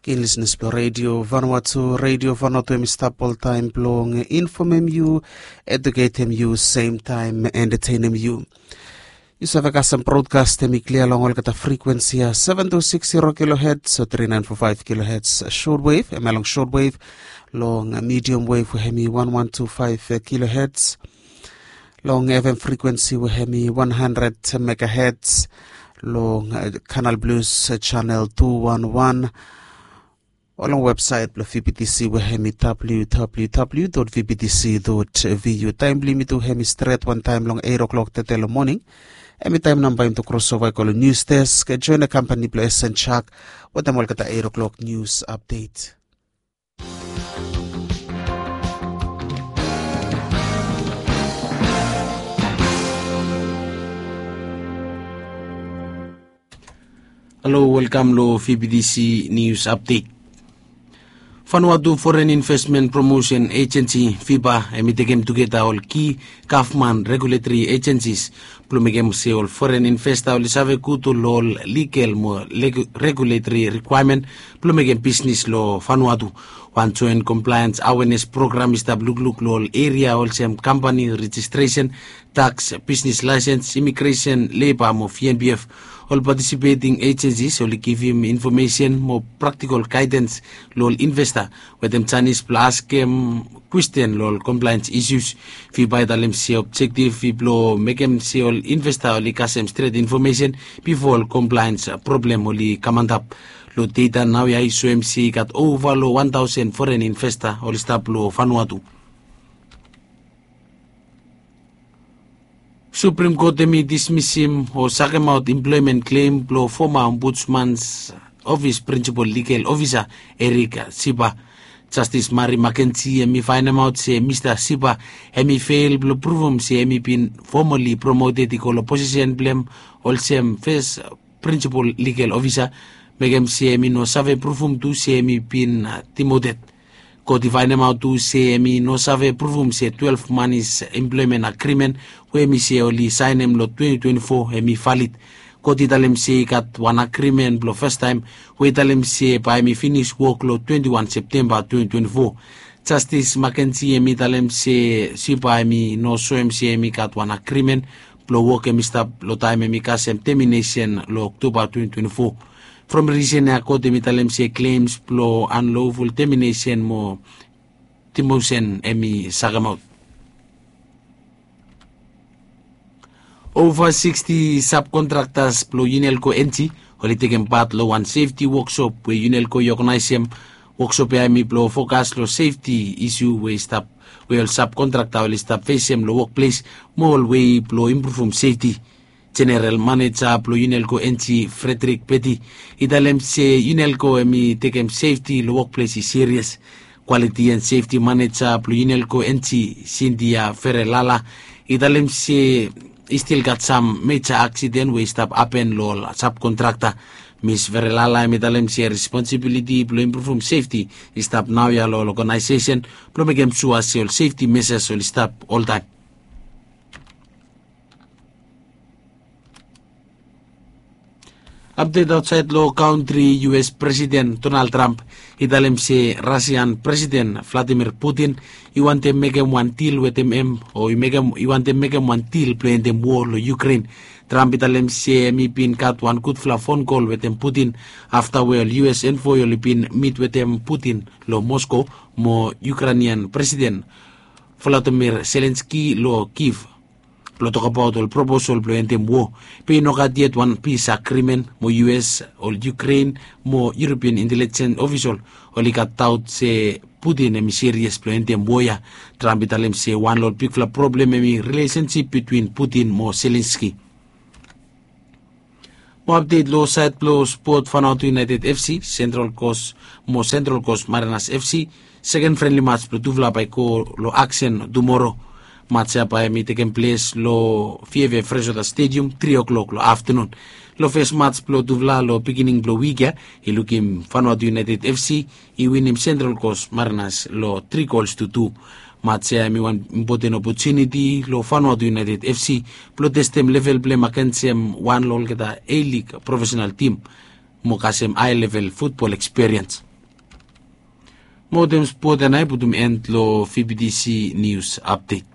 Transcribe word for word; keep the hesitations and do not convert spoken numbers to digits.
Ken lisnis blong redio Vanuatu, redio Vanuatu em i stap oltaem blong infomem yu, eduketem yu, semtaem entetenem yu. Yu save kasem brodkas em i klia long olgeta frikwensi ya, seven two six zero kilohertz o three nine four five kilohertz shortwave, em ya long shortwave, long medium wave we hem i one one two five kilohertz, long F M frikwensi we hem i one hundred megahertz, long Canal Plus channel two one one, o long websaet blong V B T C we hem i W W W dot V B T C dot V U. Taem blong yumi tu hem i stret wantaem long eit o'klok tete long moning. Hem i taem nao bae yumi tu krosova i go long nius desk, joen kampani blong Esen Chak wetem olgeta eit o'klok nius apdet. Halo, welkam long V B T C News Update. Vanuatu Foreign Investment Promotion Agency, FIPA, hem i tekem tugeta ol ki gavman regulatory agencies blong mekem se ol foren investa oli save gud long ol ligal mo regulatory rikwaemen blong mekem bisnis long Vanuatu. Wan joen compliance awareness program i stap lukluk long ol eria olsem kampani rejistresen, taks, bisnis laesens, imigresen, leba mo V N P F. Ol partisipeting agencies oli givim infomesen mo praktikol gaedens long ol investa wetem janis blong askem kwesten long ol compliance isus. FIPA i talem se objektif i blong mekem se ol investa oli kasem stret infomesen bifo ol compliance problem oli kam antap. Long data naoia i soem se i gat ova long wan taosen foren investa oli stap long Vanuatu. Supreme Court hem i dismisim o sakemaot employment claim blong foma Ombudsman's Office Principal Legal Officer Eric Sipa. Jastis Mari Makenji hem i faenemaot se Mista Sipa hem i fel blong pruvum se hem i bin fomali promoted i go long posisen blong hem olsem fes Principal Legal Officer, mekem se hem i no save pruvum tu se hem i bin demoted. Kot i faenemaot tu se hem i no save pruvum se twelef manis employment agreement we hem i se oli saenem long twenty twenty-four hem i valid. Kot i talem se i gat wan agreement blong fastaem we i talem se bae hem i finis wok long twenty-one Septemba twenty twenty-four. Jastis Makenji hem i talem se Sipa hem i no soem se hem i gat wan agreement blong wok hem i stap long taem hem i kasem teminesen long Oktoba twenty twenty-four. From risen ya kot hem i talem se claims blong unlawful termination mo demotion hem i sakemaot. Ova sixty subcontractors blong Unelco N G oli tekem pat long wan safety workshop we Unelco i oganaesem. Workshop ya hem i blong fokas long safety isu we i stap we ol subkontrakta oli stap fesem long wokples mo ol wei blong impruvum safety. Jeneral maneja blong Unelco N G Frederick Petty i talem se Unelco hem i tekem safety long wokples i serious. Quality and Safety Maneja blong Unelco N G Cynthia Ferelala i talem se i stil gat sam meja aksiden we i stap hapen long ol subkontrakta. Mis Ferelala hem i talem se responsibiliti blong impruvum safety i stap naoia long ol oganaesesen blong mekem sua se ol safety measures oli stap oltaem. Apdet aotsaed long kantri, U S Presiden Donald Trump i talem se Rasian Presiden Vladimir Putin i wantem mekem wan dil wetem hem o i mekem i wantem mekem wan dil blong endem wo long Ukrain. Trump i talem se hem i bin gat wan gudfala fon kol wetem Putin afta we ol U S envoi oli bin mit wetem Putin long Moskow mo Ukrainian Presiden Volodymyr Zelensky long Kyiv blong tokbaot ol proposal blong endem wo. Be i no gat yet wan pis agrimen mo U S o Ukrain mo European intelligence ofisol oli gat daot se Putin hem i serious blong endem wo ya. Trump i talem se wan long ol bigfala problem hem i rilesensip bitwin Putin mo Zelensky. Mo apdet long saed blong spot, Vanuatu United F C, Central Coast mo Central Coast Mariners F C, seken frenli mats blong tufala bae i go long aksen tumoro. Mats ya bae hem i tekem ples long Fiefia Freshwater Stadium tri o'klok long aftenun. Long fes mats blong tufala long beginning blong wik ya i lukim Vanuatu United F C i winim Central Coast Mariners long tri gols tu tu. Mats ya hem i wan impoten opotuniti long Vanuatu United F C blong testem level blong hem agensem wan long olgeta A-League profesenal tim mo kasem hae level futbol ekspiriens. Mo dem spot ya nao i putum end long fibidisi nius apdet.